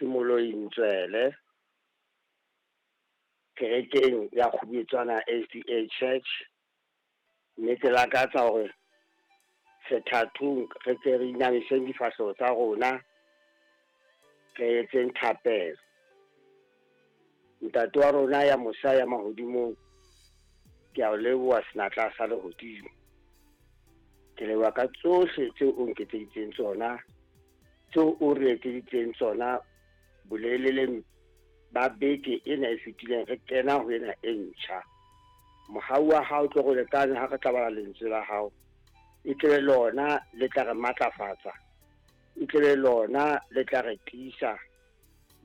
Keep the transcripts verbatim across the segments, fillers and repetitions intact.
Ke Moloi Ntswele kerekeng ya Kgubetswana S D A Church, mme ke lakatsa hore sethathong re ke re inamiseng difahleho tsa rona, re etseng thapelo. Ntate wa rona ya mosa ya mahodimong, ke a o leboha senatla sa lehodimo. Ke leboha ka tsohle tseo o nketseditseng tsona, tseo o re etseditseng tsona boleleleng ba beke ena e fetileng, re kena ho ena e ntjha. Mohau wa hao tlo re lekane ha re tla bala lentswe la hao, e tle lona le tla re matlafatsa, e tle lona le tla re tiisa,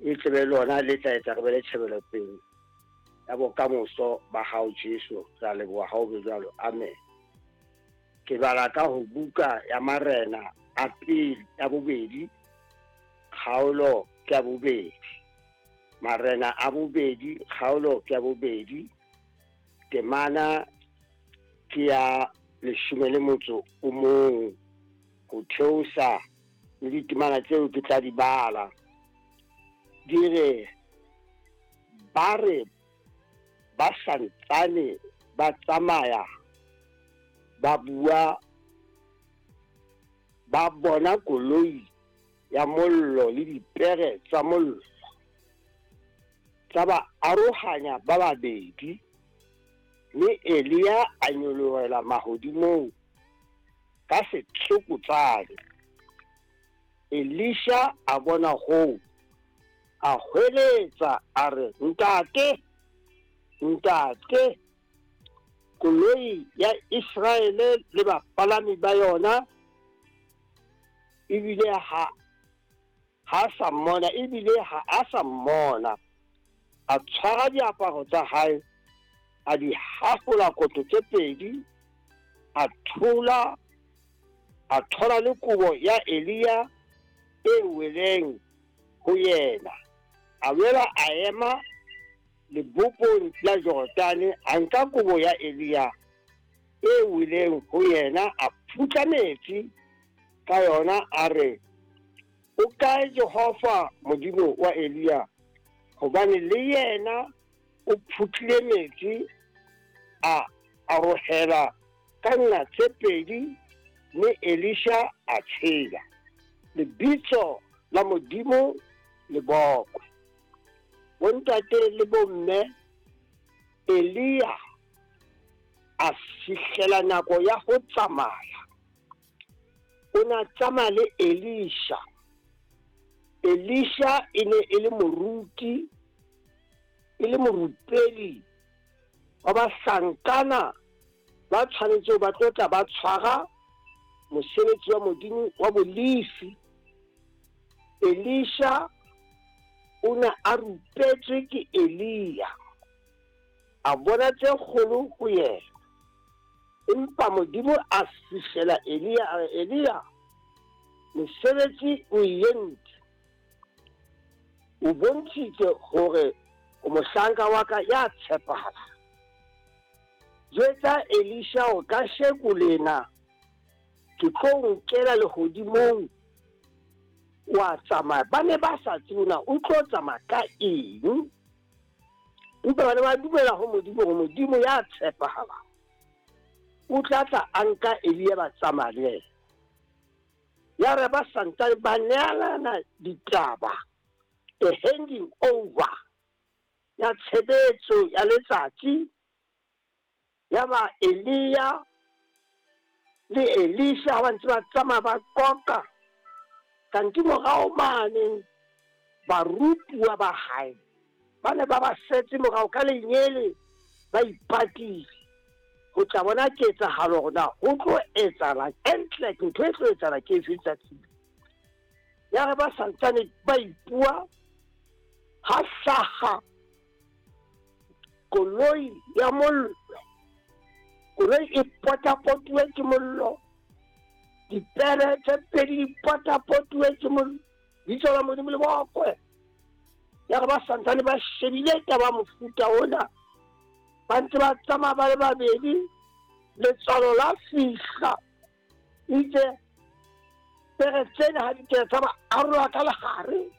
e tle lona le tla etsa re be le tjhebelopele ya bokamoso ba hao Jesu. Re a leboha ha o be jwalo, amen. Ke bala ka ho buka ya Marena a pele ya bobedi, kgaolo ke ya bobedi. Marena a bobedi, kgaolo ke ya bobedi, temana ke ya leshome le motso o mong ho theosa le ditemana tseo ke tla di bala. Di re, ba re ba santsane ba tsamaya ba bua, ba bona koloi ya mollo le dipere tsa mollo tsa ba arohanya ba babedi, mme Elia a nyolohela mahodimong ka setsokotsane. Elisha a bona hoo, a hweletsa a re, ntate, ntate, koloi ya Iseraele le bapalami ba yona. Ebile ha ha sa mmona, ebile ha a sa mmona. A tshwara diaparo tsa hae, a di hafola koto tse pedi, a thola, a thola le kobo ya Elia e weleng ho yena. A boela a ema lebopong la Jordane, a nka kobo ya Elia e weleng ho yena, a phutla metsi ka yona, a re, o kae Jehova Modimo wa Elia? Hobane le yena o phutlile metsi, a arohela ka nqa tse pedi, mme Elisha a tshela. Lebitso la Modimo le bokwe. Bontate le bomme, Elia a fihlela nako ya ho tsamaya. O na tsamaya le Elisha. Elisha e ne e le moruti, e le morupeli wa bahlankana ba tshwanetse ba tlo tla ba tshwara mosebetsi wa Modimo wa bolifi. Elisha o ne a rupetswe ke Elia, a bona tse kgolo ho yena. Empa Modimo a fihlela Elia, a re, Elia, mosebetsi o entse, o bontshitse hore o mohlanka wa ka ya tshepahalang. Jwetsa Elisha hore kasheko lena ke tlo nkela lehodimong, wa tsamaya. Ba ne ba sa tsebe na o tlo tsamaya ka eng, empa ba ne ba dumela ho Modimo hore Modimo ya tshepahalang o tla tla a nka Elia ba tsamaya le yena. Ya re ba santsane ba neelana ditaba, a handing over ya tshebetso ya letsatsi, ya ba Elia le Elisha ha ba ntse ba tsamaya ba qoqa, kanti morao mane barutuwa ba hae ba ne ba ba setse morao ka lenyele, ba ipatile ho tla bona ketsahalo hore na ho tlo etsahala entle, ntho e tlo etsahala ke efe tsatsing. Ya re ba santsane ba ipua, ha hlaha koloi ya mollo, koloi e potapotuwe ke mollo, dipere tse pedi di potapotuwe ke mollo, bitso la Modimo le bokwe. Ya re ba santsane ba shebile taba mofuta ona, ba ntse ba tsamaya ba le babedi, letswalo la fihla, itse pere tsena ha di kena tsa ba arola ka lehare.